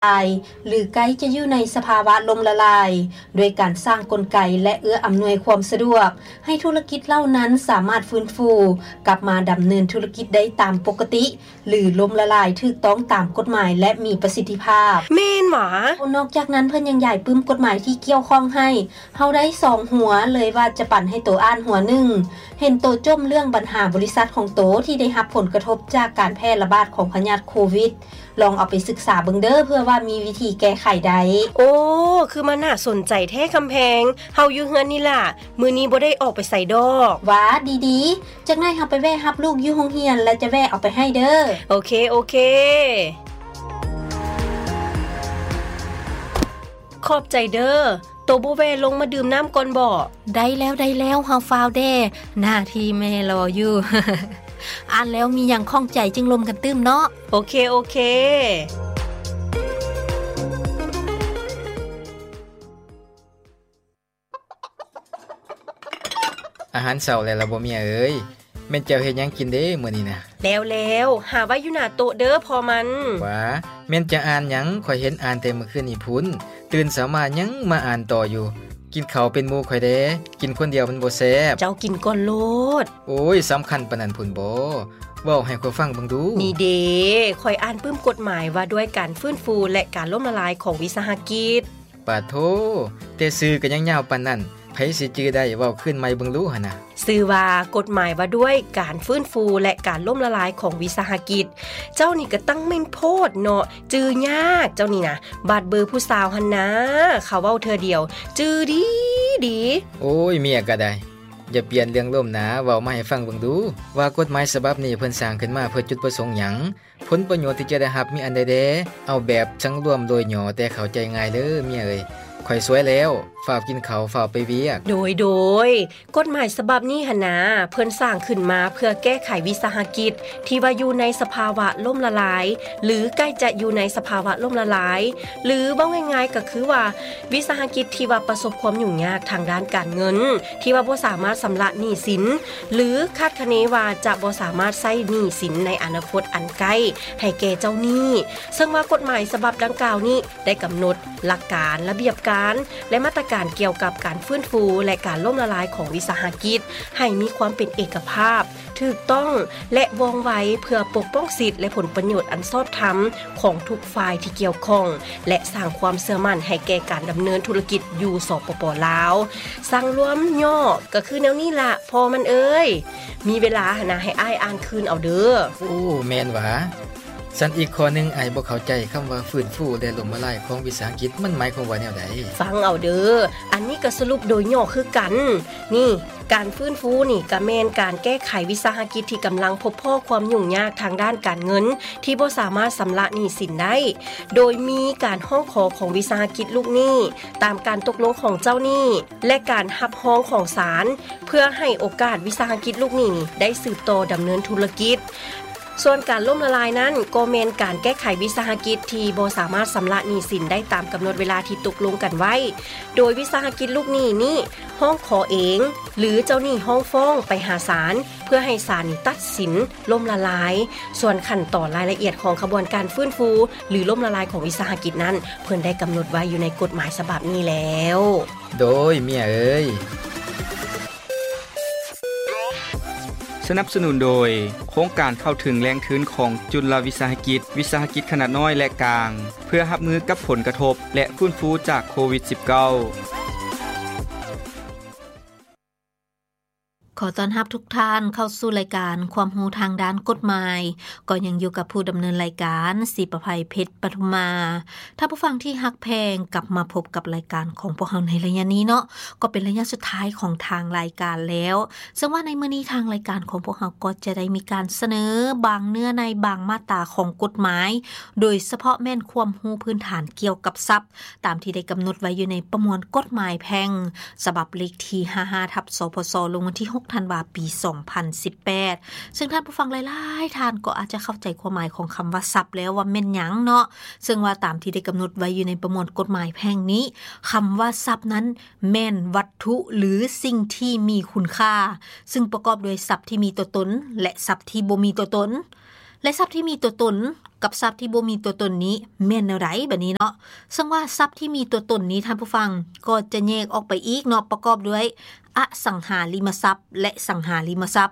າຍ ຫຼື ໃກ້ຈະຢູ່ໃນສະພາວະລົ້ມລະລາຍ, ດ້ວຍການສ້າງກົນໄກ ແລະ ເອື້ອອຳນວຍຄວາມສະດວກ ໃຫ້ທຸລະກິດເຫຼົ່ານັ້ນສາມາດຟື້ນຟູກັບມາດຳເນີນທຸລະກິດໄດ້ຕາມປົກກະຕິ ຫຼື ລົ້ມລະລາຍຖືກຕ້ອງຕາມກົດໝາຍ ແລະ ມີປະສິດທິພາບ. ແມ່ນຫວາ? ນອກຈາກນັ້ນ ເພິ່ນຍັງຢາຍປຶ້ມກົດໝາຍທີ່ກ່ຽວຂ້ອງໃຫ້ ເຮົາໄດ້ສອງຫົວ ເລີຍວ່າຈະປັນໃຫ້ໂຕອ່ານຫົວໜຶ່ງ. ເຫັນໂຕຈົ່ມເລື່ອງບັນຫາບໍລິສັດຂອງໂຕທີ່ໄດ້ຮັບຜົນກະທົບຈາກການແຜ່ລະບາດຂອງພະຍາດໂຄວິດ. ລອງເອົາໄປສຶກສາເບິ່ງເດີ້ ເພື່ອວ່າມີວິທີແກ້ໄຂໄດ້. ໂອ້ ຄືມັນໜ້າສົນໃຈແທ້ຄຳແພງ. ເຮົາຢູ່ເຮືອນນີ້ລະ, ມື້ນີ້ບໍ່ໄດ້ອອກໄປໃສດອກ. ຫວາ ດີໆ. ຈັກໜ້ອຍເຮົາໄປແວ່ຮັບລູກຢູ່ໂຮງຮຽນ ແລ້ວຈະແວ່ເອົາໄປໃຫ້ເດີ້. ໂອເຄ ໂອເຄ. ຂອບໃຈເດີ້. ໂຕບໍ່ແວ່ລົງມາດື່ມນ້ຳກ່ອນບໍ? ໄດ້ແລ້ວ ໄດ້ແລ້ວ, ເຮົາຟ້າວແດ່. ໜ້າທີ່ແມ່ລໍຢູ່. ອ່ານແລ້ວມີຫຍັງຂ້ອງໃຈຈຶ່ງລົມກັນຕື່ມເນາະ. ໂອເຄ ໂອເຄ. ອາຫານເຊົ້າແລ້ວລະບໍ່ເມຍເອີຍ? ແມ່ນເຈົ້າເຮັດຫຍັງກິນເດ້ມື້ນີ້ນະ? ແລ້ວໆ, ຫາໄວ້ຢູ່ໜ້າໂຕະເດີ້ພໍ່ມັນ. ຫວາ ແມ່ນຈະອ່ານຫຍັງ? ຂ້ອຍເຫັນອ່ານແຕ່ມື້ຄືນນີ້ພຸ້ນ, ຕື່ນເຊົ້າມາຍັງມາອ່ານຕໍ່ຢູ່. ກິນເຂົ້າເປັນໝູ່ຂ້ອຍແດ່, ກິນຄົນດຽວມັນບໍ່ແຊບ. ເຈົ້າກິນກ່ອນໂລດ. ໂອ້ຍ ສຳຄັນປານນັ້ນພຸ້ນບໍ? ເວົ້າໃຫ້ຂ້ອຍຟັງເບິ່ງດູ. ນີ້ເດ້, ຂ້ອຍອ່ານປຶ້ມກົດໝາຍວ່າດ້ວຍການຟື້ນຟູ ແລະ ການລົ້ມລະລາຍຂອງວິສາຫະກິດ. ປາໂທ, ແຕ່ຊື່ກໍຍັງຍາວປານນັ້ນ, ໃຜຊິຈື່ໄດ້? ເວົ້າຄືນໃໝ່ເບິ່ງດູຫັ້ນນະ. ຊື່ວ່າກົດໝາຍວ່າດ້ວຍການຟື້ນຟູ ແລະ ການລົ້ມລະລາຍຂອງວິສາຫະກິດ. ເຈົ້ານີ້ກໍຕັ້ງແມ່ນໂພດເນາະ, ຈື່ຍາກເຈົ້ານີ້ນະ. ບາດເບີຜູ້ສາວຫັ້ນນາ, ເຂົາເວົ້າເທື່ອດຽວ, ຈື່ດີດີ. ໂອ້ຍ ເມຍກໍໄດ້, ຢ່າປ່ຽນເລື່ອງລົມນາ, ເວົ້າມາໃຫ້ຟັງເບິ່ງດູ ວ່າກົດໝາຍສະບັບນີ້ເພິ່ນສ້າງຂຶ້ນມາເພື່ອຈຸດປະສົງຫຍັງ? ຜົນປະໂຫຍດທີ່ຈະໄດ້ຮັບມີອັນໃດແດ່? ເອົາແບບສັງລວມໂດຍຫຍໍ້ແຕ່ເຂົ້າໃຈງ່າຍເດີ້ເມຍເອີຍ. ຂ້ອຍສວຍແລ້ວ, ຟ້າວກິນເຂົ້າ, ຟ້າວໄປວຽກ. ໂດຍ ໂດຍ. ກົດໝາຍສະບັບນີ້ຫັ້ນນາ, ເພິ່ນສ້າງຂຶ້ນມາເພື່ອແກ້ໄຂວິສາຫະກິດທີ່ວ່າຢູ່ໃນສະພາວະລົ້ມລະລາຍ ຫຼື ໃກ້ຈະຢູ່ໃນສະພາວະລົ້ມລະລາຍ, ຫຼື ເວົ້າງ່າຍໆກໍຄືວ່າ ວິສາຫະກິດທີ່ວ່າປະສົບຄວາມຫຍຸ້ງຍາກທາງດ້ານການເງິນ, ທີ່ວ່າບໍ່ສາມາດຊຳລະໜີ້ສິນ ຫຼື ຄາດຄະເນວ່າຈະບໍ່ສາມາດໃຊ້ໜີ້ສິນໃນອະນາຄົດອັນໃກ້ໃຫ້ແກ່ເຈົ້າໜີ້. ເຊິ່ງວ່າກົດໝາຍສະບັບດັ່ງກ່າວນີ້ ໄດ້ກຳນົດຫຼັກການ, ລະບຽບການ ແລະ ມາດຕະການກ່ຽວກັບການຟື້ນຟູ ແລະ ການລົ້ມລະລາຍຂອງວິສາຫະກິດ ໃຫ້ມີຄວາມເປັນເອກະພາບ, ຖືກຕ້ອງ ແລະ ວ່ອງໄວ ເພື່ອປົກປ້ອງສິດ ແລະ ຜົນປະໂຫຍດອັນຊອບທຳຂອງທຸກຝ່າຍທີ່ກ່ຽວຂ້ອງ ແລະ ສ້າງຄວາມເຊື່ອໝັ້ນໃຫ້ແກ່ການດຳເນີນທຸລະກິດຢູ່ ສປປ ລາວ. ສັງລວມຫຍໍ້ກໍຄືແນວນີ້ລະ ພໍ່ມັນເອີຍ. ມີເວລາຫັ້ນນະ ໃຫ້ອ້າຍອ່ານຄືນເອົາເດີ້. ໂອ້ ແມ່ນຫວາ? ຊັ້ນອີກຂໍ້ໜຶ່ງ ອ້າຍບໍ່ເຂົ້າໃຈຄຳວ່າຟື້ນຟູ ແລະ ລົ້ມລະລາຍຂອງວິສາຫະກິດ ມັນໝາຍຄວາມວ່າແນວໃດ? ຟັງເອົາເດີ້, ອັນນີ້ກໍສະຫຼຸບໂດຍຫຍໍ້ຄືກັນ. ນີ້, ການຟື້ນຟູນີ້ກໍແມ່ນການແກ້ໄຂວິສາຫະກິດທີ່ກຳລັງພົບພໍ້ຄວາມຫຍຸ້ງຍາກທາງດ້ານການເງິນ ທີ່ບໍ່ສາມາດຊຳລະໜີ້ສິນໄດ້, ໂດຍມີການຮ້ອງຂໍຂອງວິສາຫະກິດລູກໜີ້ ຕາມການຕົກລົງຂອງເຈົ້າໜີ້ ແລະ ການຮັບຮອງຂອງສານ ເພື່ອໃຫ້ໂອກາດວິສາຫະກິດລູກໜີ້ນີ້ໄດ້ສືບຕໍ່ດຳເນີນທຸລະກິດ. ສ່ວນການລົ້ມລະລາຍນັ້ນ ກໍແມ່ນການແກ້ໄຂວິສາຫະກິດທີ່ບໍ່ສາມາດຊຳລະໜີ້ສິນໄດ້ຕາມກຳນົດເວລາທີ່ຕົກລົງກັນໄວ້, ໂດຍວິສາຫະກິດລູກໜີ້ນີ້ຮ້ອງຂໍເອງ ຫຼື ເຈົ້າໜີ້ຮ້ອງຟ້ອງໄປຫາສານ ເພື່ອໃຫ້ສານນີ້ຕັດສິນລົ້ມລະລາຍ. ສ່ວນຂັ້ນຕອນລາຍລະອຽດຂອງຂະບວນການຟື້ນຟູ ຫຼື ລົ້ມລະລາຍຂອງວິສາຫະກິດນັ້ນ ເພິ່ນໄດ້ກຳນົດໄວ້ຢູ່ໃນກົດໝາຍສະບັບນີ້ແລ້ວ. ໂດຍ ເມຍເອີຍ. ສະໜັບສະໜູນໂດຍ ໂຄງການເຂົ້າເຖິງແຫຼ່ງທຶນຂອງຈຸລະວິສາຫະກິດ, ວິສາຫະກິດຂະໜາດນ້ອຍ ແລະ ກາງ ເພື່ອຮັບມືກັບຜົນກະທົບ ແລະ ຟື້ນຟູຈາກໂຄວິດສິບເກົ້າ. ຂໍຕ້ອນຮັບທຸກທ່ານເຂົ້າສູ່ລາຍການຄວາມຮູ້ທາງດ້ານກົດໝາຍ, ກໍຍັງຢູ່ກັບຜູ້ດຳເນີນລາຍການ ສີປະໄພ ເພັດປະທຸມມາ. ທ່ານຜູ້ຟັງທີ່ຮັກແພງ, ກັບມາພົບກັບລາຍການຂອງພວກເຮົາໃນໄລຍະນີ້ເນາະ, ກໍເປັນໄລຍະສຸດທ້າຍຂອງທາງລາຍການແລ້ວ. ເຊິ່ງວ່າໃນມື້ນີ້ທາງລາຍການຂອງພວກເຮົາກໍຈະໄດ້ມີການສະເໜີບາງເນື້ອໃນບາງມາດຕາຂອງກົດໝາຍ, ໂດຍສະເພາະແມ່ນຄວາມຮູ້ພື້ນຖານກ່ຽວກັບສັບ ຕາມທີ່ໄດ້ກຳນົດໄວ້ຢູ່ໃນປະມວນກົດໝາຍແພ່ງ ສະບັບເລກທີຫ້າຫ້າ ທັບ ສພສ ລົງວັນທີຫົກ ທັນວາ ປີສອງພັນສິບແປດ ເຊິ່ງທ່ານຜູ້ຟັງຫຼາຍໆທ່ານກໍອາດຈະເຂົ້າໃຈຄວາມໝາຍຂອງຄຳວ່າສັບແລ້ວວ່າແມ່ນຫຍັງເນາະ. ເຊິ່ງວ່າຕາມທີ່ໄດ້ກຳນົດໄວ້ຢູ່ໃນປະມວນກົດໝາຍແພ່ງນີ້, ຄຳວ່າສັບນັ້ນແມ່ນວັດຖຸຫຼືສິ່ງທີ່ມີຄຸນຄ່າ, ເຊິ່ງປະກອບດ້ວຍສັບທີ່ມີຕົວຕົນ ແລະ ສັບທີ່ບໍ່ມີຕົວຕົນ. ແລະ ສັບທີ່ມີຕົວຕົນ ກັບຊັບທີ່ບໍ່ມີຕົວຕົນນີ້ແມ່ນແນວໃດບາດນີ້ເນາະ? ເຊິ່ງວ່າຊັບທີ່ມີຕົວຕົນນີ້ ທ່ານຜູ້ຟັງ ກໍຈະແຍກອອກໄປອີກເນາະ ປະກອບດ້ວຍອະສັງຫາລິມະຊັບ ແລະ ສັງຫາລິມະຊັບ.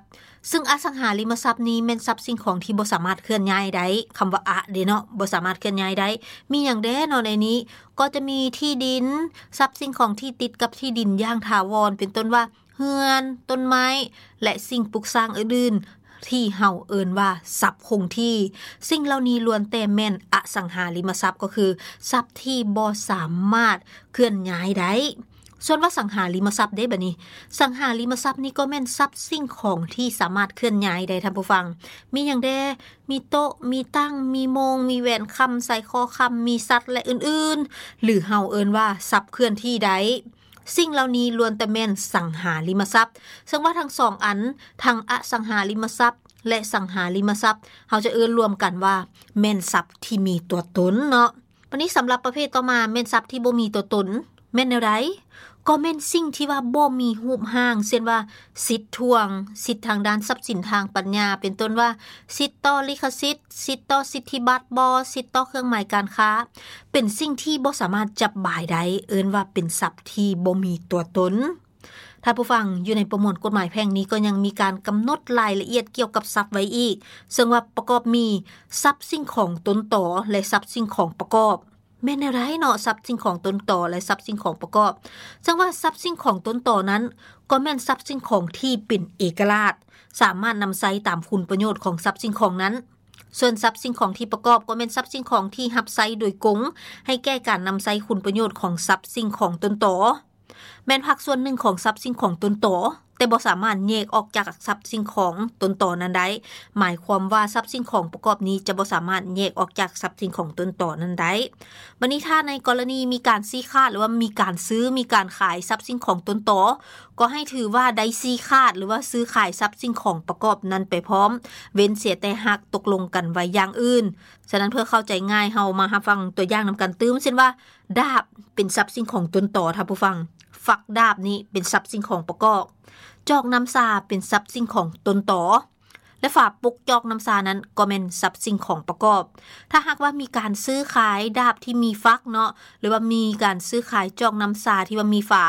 ເຊິ່ງອະສັງຫາລິມະຊັບນີ້ແມ່ນຊັບສິ່ງຂອງທີ່ບໍ່ສາມາດເຄື່ອນຍ້າຍໄດ້, ຄຳວ່າອະເດ້ເນາະ ບໍ່ສາມາດເຄື່ອນຍ້າຍໄດ້. ມີຫຍັງແດ່ເນາະໃນນີ້? ກໍຈະມີທີ່ດິນ, ຊັບສິ່ງຂອງທີ່ຕິດກັບທີ່ດິນຢ່າງຖາວອນ ເປັນຕົ້ນວ່າ ເຮືອນ, ຕົ້ນໄມ້ ແລະ ສິ່ງປຸກສ້າງອື່ນໆ ທີ່ເຮົາເອີ້ນວ່າຊັບຄົງທີ່. ສິ່ງເຫຼົ່ານີ້ລ້ວນແຕ່ແມ່ນອະສັງຫາລິມະຊັບ ກໍຄືຊັບທີ່ບໍ່ສາມາດເຄື່ອນຍ້າຍໄດ້. ສ່ວນວ່າສັງຫາລິມະຊັບເດ້ບາດນີ້, ສັງຫາລິມະຊັບນີ້ກໍແມ່ນຊັບສິ່ງຂອງທີ່ສາມາດເຄື່ອນຍ້າຍໄດ້ ທ່ານຜູ້ຟັງ. ມີຫຍັງແດ່? ມີໂຕະ, ມີຕັ່ງ, ມີໂມງ, ມີແຫວນຄຳ, ສາຍຄໍຄຳ, ມີສັດ ແລະ ອື່ນໆ ຫຼື ເຮົາເອີ້ນວ່າຊັບເຄື່ອນທີ່ໄດ້. ສິ່ງເຫຼົ່ານີ້ລ້ວນແຕ່ແມ່ນສັງຫາລິມະຊັບ. ເຊິ່ງວ່າທັງສອງອັນ, ທັງອະສັງຫາລິມະຊັບ ແລະ ສັງຫາລິມະຊັບ, ເຮົາຈະເອີ້ນລວມກັນວ່າແມ່ນຊັບທີ່ມີຕົວຕົນເນາະ. ບາດນີ້ສຳລັບປະເພດຕໍ່ມາແມ່ນຊັບທີ່ບໍ່ມີຕົວຕົນ. ແມ່ນແນວໃດ? ກໍແມ່ນສິ່ງທີ່ວ່າບໍ່ມີຮູບຮ່າງ, ເຊັ່ນວ່າ ສິດທວງ, ສິດທາງດ້ານຊັບສິນທາງປັນຍາ, ເປັນຕົ້ນວ່າ ສິດຕໍ່ລິຂະສິດ, ສິດຕໍ່ສິດທິບັດບໍ, ສິດຕໍ່ເຄື່ອງໝາຍການຄ້າ, ເປັນສິ່ງທີ່ບໍ່ສາມາດຈັບບາຍໄດ້, ເອີ້ນວ່າເປັນຊັບທີ່ບໍ່ມີຕົວຕົນ. ທ່ານຜູ້ຟັງ, ຢູ່ໃນປະມວນກົດໝາຍແພ່ງນີ້ກໍຍັງມີການກຳນົດລາຍລະອຽດກ່ຽວກັບຊັບໄວ້ອີກ, ເຊິ່ງວ່າປະກອບມີຊັບສິ່ງຂອງຕົນຕໍ ແລະ ຊັບສິ່ງຂອງປະກອບ. ແມ່ນແນວໃດເນາະ ຊັບສິ່ງຂອງຕົນຕໍ ແລະ ຊັບສິ່ງຂອງປະກອບ? ເຊິ່ງວ່າຊັບສິ່ງຂອງຕົນຕໍນັ້ນ ກໍແມ່ນຊັບສິ່ງຂອງທີ່ເປັນເອກະລາດ, ສາມາດນຳໃຊ້ຕາມຄຸນປະໂຫຍດຂອງຊັບສິ່ງຂອງນັ້ນ. ສ່ວນຊັບສິ່ງຂອງທີ່ປະກອບ ກໍແມ່ນຊັບສິ່ງຂອງທີ່ຮັບໃຊ້ໂດຍກົງ ໃຫ້ແກ່ການນຳໃຊ້ຄຸນປະໂຫຍດຂອງຊັບສິ່ງຂອງຕົນຕໍ. ແມ່ນພາກສ່ວນໜຶ່ງຂອງຊັບສິ່ງຂອງຕົນຕໍ, ແຕ່ບໍ່ສາມາດແຍກອອກຈາກຊັບສິ່ງຂອງຕົນຕໍນັ້ນໄດ້. ໝາຍຄວາມວ່າຊັບສິ່ງຂອງປະກອບນີ້ຈະບໍ່ສາມາດແຍກອອກຈາກຊັບສິ່ງຂອງຕົນຕໍນັ້ນໄດ້. ບັດນີ້ຖ້າໃນກໍລະນີມີການຊີ້ຂາດ ຫຼືວ່າມີການຊື້, ມີການຂາຍຊັບສິ່ງຂອງຕົນຕໍ, ກໍໃຫ້ຖືວ່າໄດ້ຊີ້ຂາດ ຫຼືວ່າຊື້ຂາຍຊັບສິ່ງຂອງປະກອບນັ້ນໄປພ້ອມ, ເວັ້ນເສຍແຕ່ຫາກຕົກລົງກັນໄວ້ຢ່າງອື່ນ. ສະນັ້ນເພື່ອເຂົ້າໃຈງ່າຍ, ເຮົາມາຮັບຟັງຕົວຢ່າງນຳກັນຕື່ມ, ເຊັ່ນວ່າ ດາບເປັນຊັບສິ່ງຂອງຕົ້ນຕໍ, ທ່ານຜູ້ຟັງ, ຝັກດາບນີ້ເປັນຊັບສິ່ງຂອງປະກອບ, ຈອກນ້ຳຊາເປັນຊັບສິ່ງຂອງຕົ້ນຕໍ ແລະ ຝາປົກຈອກນ້ຳຊານັ້ນກໍແມ່ນຊັບສິ່ງຂອງປະກອບ. ຖ້າຫາກວ່າມີການຊື້ຂາຍດາບທີ່ມີຝັກເນາະ, ຫຼືວ່າມີການຊື້ຂາຍຈອກນ້ຳຊາທີ່ວ່າມີຝາ,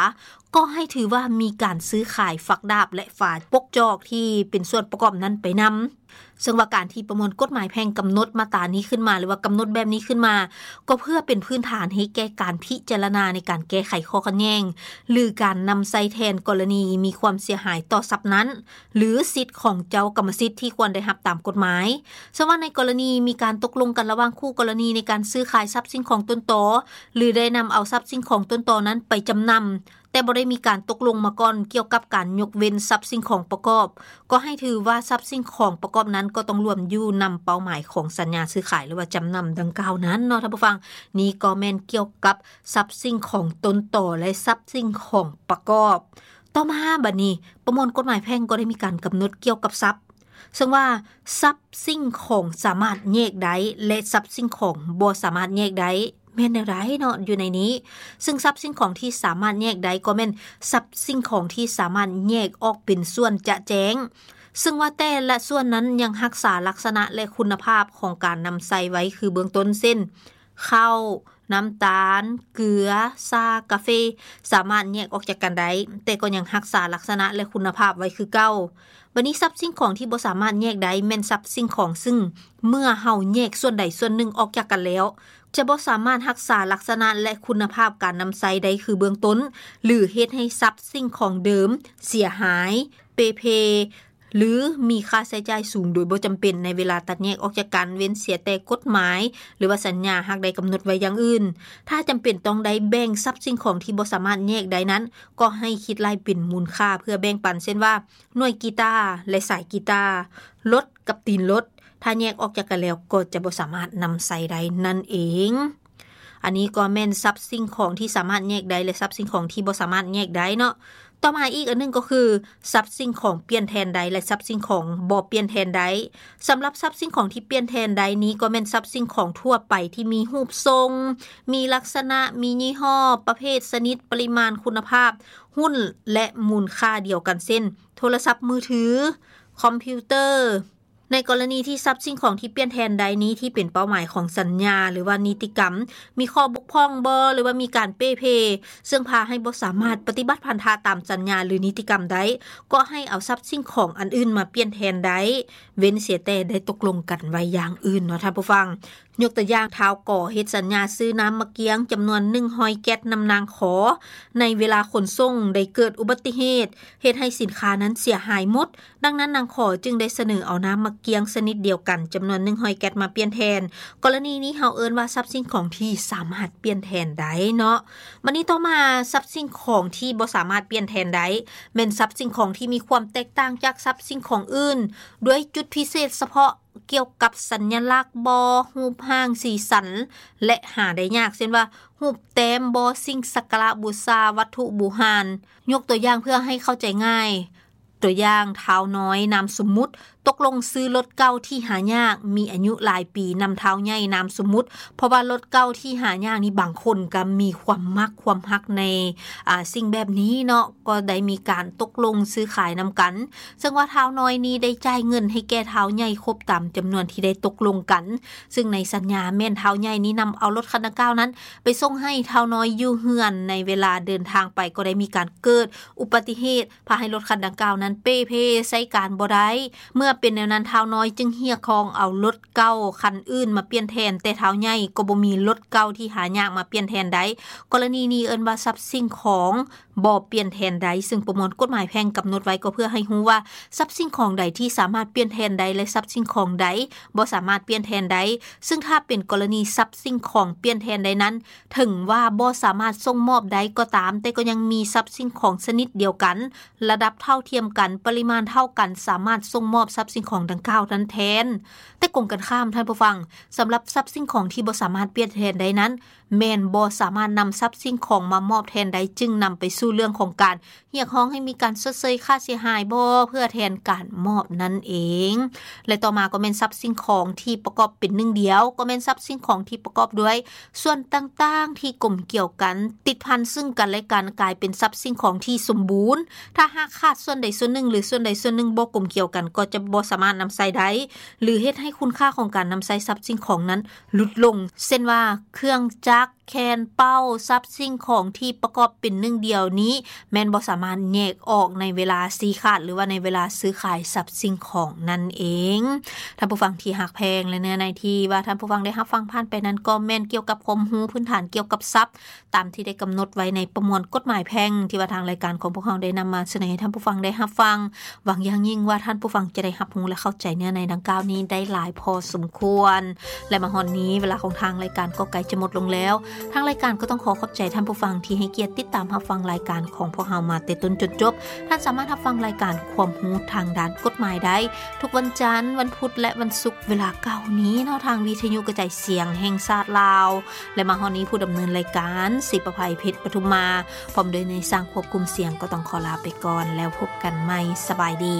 ກໍໃຫ້ຖືວ່າມີການຊື້ຂາຍຝັກດາບ ແລະ ຝາປົກຈອກທີ່ເປັນສ່ວນປະກອບນັ້ນໄປນຳ. ເຊິ່ງວ່າການທີ່ປະມວນກົດໝາຍແພ່ງກຳນົດມາດຕານີ້ຂຶ້ນມາ ຫຼືວ່າກຳນົດແບບນີ້ຂຶ້ນມາ ກໍເພື່ອເປັນພື້ນຖານໃຫ້ແກ່ການພິຈາລະນາໃນການແກ້ໄຂຂໍ້ຂັດແຍ່ງ ຫຼື ການນຳໃຊ້ແທນກໍລະນີມີຄວາມເສຍຫາຍຕໍ່ຊັບນັ້ນ ຫຼື ສິດຂອງເຈົ້າກຳມະສິດທີ່ຄວນໄດ້ຮັບຕາມກົດໝາຍ. ເຊິ່ງວ່າໃນກໍລະນີມີການຕົກລົງກັນລະຫວ່າງຄູ່ກໍລະນີໃນການຊື້ຂາຍຊັບສິ່ງຂອງຕົນຕໍ ຫຼື ໄດ້ນຳເອົາຊັບສິ່ງຂອງຕົນຕໍນັ້ນໄປຈຳນຳ ແຕ່ບໍ່ໄດ້ມີການຕົກລົງມາກ່ອນກ່ຽວກັບການຍົກເວັ້ນຊັບສິ່ງຂອງປະກອບ, ກໍໃຫ້ຖືວ່າຊັບສິ່ງຂອງປະກອບນັ້ນກໍຕ້ອງລວມຢູ່ນຳເປົ້າໝາຍຂອງສັນຍາຊື້ຂາຍ ຫຼືວ່າຈຳນຳດັ່ງກ່າວນັ້ນເນາະ ທ່ານຜູ້ຟັງ. ນີ້ກໍແມ່ນກ່ຽວກັບຊັບສິ່ງຂອງຕົ້ນຕໍ ແລະ ຊັບສິ່ງຂອງປະກອບ. ຕໍ່ມາບັດນີ້ ປະມວນກົດໝາຍແພ່ງກໍໄດ້ມີການກຳນົດກ່ຽວກັບຊັບ ເຊິ່ງວ່າຊັບສິ່ງຂອງສາມາດແຍກໄດ້ ແລະ ຊັບສິ່ງຂອງບໍ່ສາມາດແຍກໄດ້ ແມ່ນແນວໃດເນາະ ຢູ່ໃນນີ້? ເຊິ່ງຊັບສິ່ງຂອງທີ່ສາມາດແຍກໄດ້ກໍແມ່ນຊັບສິ່ງຂອງທີ່ສາມາດແຍກອອກເປັນສ່ວນຈະແຈ້ງ, ເຊິ່ງວ່າແຕ່ລະສ່ວນນັ້ນຍັງຮັກສາລັກສະນະ ແລະ ຄຸນນະພາບຂອງການນຳໃຊ້ໄວ້ຄືເບື້ອງຕົ້ນ ເຊັ່ນ ເຂົ້າ, ນ້ຳຕານ, ເກືອ, ຊາ, ກາເຟ ສາມາດແຍກອອກຈາກກັນໄດ້, ແຕ່ກໍຍັງຮັກສາລັກສະນະ ແລະ ຄຸນນະພາບໄວ້ຄືເກົ່າ. ບັດນີ້ຊັບສິ່ງຂອງທີ່ບໍ່ສາມາດແຍກໄດ້ແມ່ນຊັບສິ່ງຂອງ ຊຶ່ງເມື່ອເຮົາແຍກສ່ວນໃດສ່ວນໜຶ່ງອອກຈາກກັນແລ້ວ ຈະບໍ່ສາມາດຮັກສາລັກສະນະ ແລະ ຄຸນນະພາບການນຳໃຊ້ໄດ້ຄືເບື້ອງຕົ້ນ ຫຼື ເຮັດໃຫ້ຊັບສິ່ງຂອງເດີມເສຍຫາຍ, ເປ່ເພ ຫຼື ມີຄ່າໃຊ້ຈ່າຍສູງໂດຍບໍ່ຈຳເປັນໃນເວລາຕັດແຍກອອກຈາກກັນ, ເວັ້ນເສຍແຕ່ກົດໝາຍ ຫຼືວ່າສັນຍາຫາກໄດ້ກຳນົດໄວ້ຢ່າງອື່ນ. ຖ້າຈຳເປັນຕ້ອງໄດ້ແບ່ງຊັບສິ່ງຂອງທີ່ບໍ່ສາມາດແຍກໄດ້ນັ້ນ, ກໍໃຫ້ຄິດໄລ່ເປັນມູນຄ່າເພື່ອແບ່ງປັນ, ເຊັ່ນວ່າ ໜ່ວຍກີຕາ ແລະ ສາຍກີຕາ, ລົດກັບຕີນລົດ, ຖ້າແຍກອອກຈາກກັນແລ້ວກໍຈະບໍ່ສາມາດນຳໃຊ້ໄດ້ນັ້ນເອງ. ອັນນີ້ກໍແມ່ນຊັບສິ່ງຂອງທີ່ສາມາດແຍກໄດ້ ແລະ ຊັບສິ່ງຂອງທີ່ບໍ່ສາມາດແຍກໄດ້ເນາະ. ຕໍ່ມາອີກອັນໜຶ່ງກໍຄື ຊັບສິ່ງຂອງປ່ຽນແທນໄດ້ ແລະ ຊັບສິ່ງຂອງບໍ່ປ່ຽນແທນໄດ້. ສຳລັບຊັບສິ່ງຂອງທີ່ປ່ຽນແທນໄດ້ນີ້ ກໍແມ່ນຊັບສິ່ງຂອງທົ່ວໄປທີ່ມີຮູບຊົງ, ມີລັກສະນະ, ມີຍີ່ຫໍ້, ປະເພດ, ຊະນິດ, ປະລິມານ, ຄຸນນະພາບ, ຮຸ້ນ ແລະ ມູນຄ່າດຽວກັນ ເຊັ່ນ ໂທລະສັບມືຖື, ຄອມພິວເຕີ, ໃນກໍລະນີທີ່ຊັບສິ່ງຂອງທີ່ປ່ຽນແທນໄດ້ນີ້ ທີ່ເປັນເປົ້າໝາຍຂອງສັນຍາ ຫຼືວ່ານິຕິກຳ ມີຂໍ້ບົກຜ່ອງບໍ່ ຫຼືວ່າມີການເປ່ເພ ເຊິ່ງພາໃຫ້ບໍ່ສາມາດປະຕິບັດພັນທະຕາມສັນຍາ ຫຼືນິຕິກຳໄດ້ ກໍໃຫ້ເອົາຊັບສິ່ງຂອງອັນອື່ນມາປ່ຽນແທນໄດ້ ເວັ້ນເສຍແຕ່ໄດ້ຕົກລົງກັນໄວ້ຢ່າງອື່ນເນາະທ່ານຜູ້ຟັງ. ຍົກຕົວຢ່າງ ທ້າວ ກ ເຮັດສັນຍາຊື້ນ້ຳໝາກກຽງຈຳນວນໜຶ່ງຮ້ອຍແກັດນຳນາງ ຂ ໃນເວລາຂົນສົ່ງໄດ້ເກີດອຸບັດຕິເຫດ ເຮັດໃຫ້ສິນຄ້ານັ້ນເສຍຫາຍໝົດ. ດັ່ງນັ້ນນາງ ຂ ຈຶ່ງໄດ້ສະເໜີເອົານ້ຳໝາກກຽງຊະນິດດຽວກັນຈຳນວນໜຶ່ງຮ້ອຍແກັດມາປ່ຽນແທນ. ກໍລະນີນີ້ເຮົາເອີ້ນວ່າຊັບສິ່ງຂອງທີ່ສາມາດປ່ຽນແທນໄດ້ເນາະ. ບັດນີ້ຕໍ່ມາ ຊັບສິ່ງຂອງທີ່ບໍ່ສາມາດປ່ຽນແທນໄດ້ ແມ່ນຊັບສິ່ງຂອງທີ່ມີຄວາມແຕກຕ່າງຈາກຊັບສິ່ງຂອງອື່ນ ດ້ວຍຈຸດພິເສດສະເພາະ ກ່ຽວກັບສັນຍະລັກບໍ ຮູບຮ່າງ ສີສັນ ແລະ ຫາໄດ້ຍາກ ເຊັ່ນວ່າ ຮູບແຕ້ມບໍ ສິ່ງສັກກາລະບູຊາ ວັດຖຸບູຮານ. ຍົກຕົວຢ່າງເພື່ອໃຫ້ເຂົ້າໃຈງ່າຍ, ຕົວຢ່າງ ທ້າວນ້ອຍ ນາມສົມມຸດ ຕົກລົງຊື້ລົດເກົ່າທີ່ຫາຍາກ ມີອາຍຸຫຼາຍປີນຳທ້າວໃຫຍ່ ນາມສົມມຸດ ເພາະວ່າລົດເກົ່າທີ່ຫາຍາກນີ້ ບາງຄົນກໍມີຄວາມມັກຄວາມຮັກໃນ ອາ ສິ່ງແບບນີ້ເນາະ ກໍໄດ້ມີການຕົກລົງຊື້ຂາຍນຳກັນ ເຊິ່ງວ່າທ້າວນ້ອຍນີ້ໄດ້ຈ່າຍເງິນໃຫ້ແກ່ທ້າວໃຫຍ່ຄົບຕາມຈຳນວນທີ່ໄດ້ຕົກລົງກັນ ເຊິ່ງໃນສັນຍາແມ່ນທ້າວໃຫຍ່ນີ້ນຳເອົາລົດຄັນດັ່ງກ່າວນັ້ນໄປສົ່ງໃຫ້ທ້າວນ້ອຍຢູ່ເຮືອນ. ໃນເວລາເດີນທາງໄປກໍໄດ້ມີການເກີດອຸບັດຕິເຫດ ພາໃຫ້ລົດຄັນດັ່ງກ່າວນັ້ນເປ່ເພໃຊ້ການບໍ່ໄດ້. ເມື່ອເປັນແນວນັ້ນ ທ້າວນ້ອຍຈຶ່ງຮຽກຮ້ອງເອົາລົດເກົ່າຄັນອື່ນມາປ່ຽນແທນ ແຕ່ທ້າວໃຫຍ່ກໍບໍ່ມີລົດເກົ່າທີ່ຫາຍາກມາປ່ຽນແທນໄດ້. ກໍລະນີນີ້ເອີ້ນວ່າຊັບສິ່ງຂອງ ບໍ່ປ່ຽນແທນໄດ້ ເຊິ່ງປະມວນກົດໝາຍແພ່ງກຳນົດໄວ້ກໍເພື່ອໃຫ້ຮູ້ວ່າຊັບສິ່ງຂອງໃດທີ່ສາມາດປ່ຽນແທນໄດ້ ແລະ ຊັບສິ່ງຂອງໃດບໍ່ສາມາດປ່ຽນແທນໄດ້. ເຊິ່ງຖ້າເປັນກໍລະນີຊັບສິ່ງຂອງປ່ຽນແທນໄດ້ນັ້ນ ເຖິງວ່າບໍ່ສາມາດສົ່ງມອບໄດ້ກໍຕາມ ແຕ່ກໍຍັງມີຊັບສິ່ງຂອງຊະນິດດຽວກັນ ລະດັບເທົ່າທຽມກັນ ປະລິມານເທົ່າກັນ ສາມາດສົ່ງມອບຊັບສິ່ງຂອງດັ່ງກ່າວນັ້ນແທນ. ແຕ່ກົງກັນຂ້າມທ່ານຜູ້ຟັງ, ສຳລັບຊັບສິ່ງຂອງທີ່ບໍ່ສາມາດປ່ຽນແທນໄດ້ນັ້ນ ແມ່ນບໍ່ສາມາດນຳຊັບສິ່ງຂອງມາມອບແທນໄດ້ ຈຶ່ງນຳໄປສູ່ເລື່ອງຂອງການຮຽກຮ້ອງໃຫ້ມີການຊົດເຊີຍຄ່າເສຍຫາຍບໍ ເພື່ອແທນການມອບນັ້ນເອງ. ແລະ ຕໍ່ມາກໍແມ່ນຊັບສິ່ງຂອງທີ່ປະກອບເປັນໜຶ່ງດຽວ ກໍແມ່ນຊັບສິ່ງຂອງທີ່ປະກອບດ້ວຍສ່ວນຕ່າງໆທີ່ກົມກ່ຽວກັນ ຕິດພັນເຊິ່ງກັນແລະກັນ ກາຍເປັນຊັບສິ່ງຂອງທີ່ສົມບູນ. ຖ້າຫາກຂາດສ່ວນໃດສ່ວນໜຶ່ງ ຫຼື ສ່ວນໃດສ່ວນໜຶ່ງບໍ່ກົມກ່ຽວກັນ ກໍຈະບໍ່ສາມາດນຳໃຊ້ໄດ້ ຫຼື ເຮັດໃຫ້ຄຸນຄ່າຂອງການນຳໃຊ້ຊັບສິ່ງຂອງນັ້ນຫຼຸດລົງ ເຊັ່ນວ່າ ເຄື່ອງຈັກ, ແຄນເປົາ, ຊັບສິ່ງຂອງທີ່ປະກອບເປັນໜຶ່ງດຽວນີ້ ແມ່ນບໍ່ສາມາດແຍກອອກໃນເວລາຊີ້ຂາດ ຫຼືວ່າໃນເວລາຊື້ຂາຍຊັບສິ່ງຂອງນັ້ນເອງ. ທ່ານຜູ້ຟັງທີ່ຮັກແພງ ແລະ ເນື້ອໃນທີ່ວ່າທ່ານຜູ້ຟັງໄດ້ຮັບຟັງຜ່ານໄປນັ້ນ ກໍແມ່ນກ່ຽວກັບຄວາມຮູ້ພື້ນຖານກ່ຽວກັບຊັບ ຕາມທີ່ໄດ້ກຳນົດໄວ້ໃນປະມວນກົດໝາຍແພ່ງ ທີ່ວ່າທາງລາຍການຂອງພວກເຮົາໄດ້ນຳມາສະເໜີໃຫ້ທ່ານຜູ້ຟັງໄດ້ຮັບຟັງ. ຫວັງຢ່າງຍິ່ງວ່າທ່ານຜູ້ຟັງຈະໄດ້ຮັບຮູ້ ແລະ ເຂົ້າໃຈເນື້ອໃນດັ່ງກ່າວນີ້ໄດ້ຫຼາຍພໍສົມຄວນ. ແລະ ມາຮອດນີ້ ເວລາຂອງທາງລາຍການກໍໃກ້ຈະໝົດລົງແລ້ວ. ທາງລາຍການກໍຕ້ອງຂໍຂອບໃຈທ່ານຜູ້ຟັງທີ່ໃຫ້ກຽດຕິດຕາມຮັບຟັງລາຍການຂອງພວກເຮົາມາແຕ່ຕົ້ນຈົນຈົບ. ທ່ານສາມາດຮັບຟັງລາຍການຄວາມຮູ້ທາງດ້ານກົດໝາຍໄດ້ ທຸກວັນຈັນ, ວັນພຸດ ແລະ ວັນສຸກ ເວລາເກົ່ານີ້ເນາະ ທາງວິທະຍຸກະຈາຍສຽງແຫ່ງຊາດລາວ. ແລະ ມາຮອດນີ້ ຜູ້ດຳເນີນລາຍການ ສີປະໄພ ເພັດປະທຸມມາ ພ້ອມດ້ວຍນາຍຊ່າງຄວບຄຸມສຽງ ກໍຕ້ອງຂໍລາໄປກ່ອນ ແລ້ວພົບກັນໃໝ່. ສະບາຍດີ.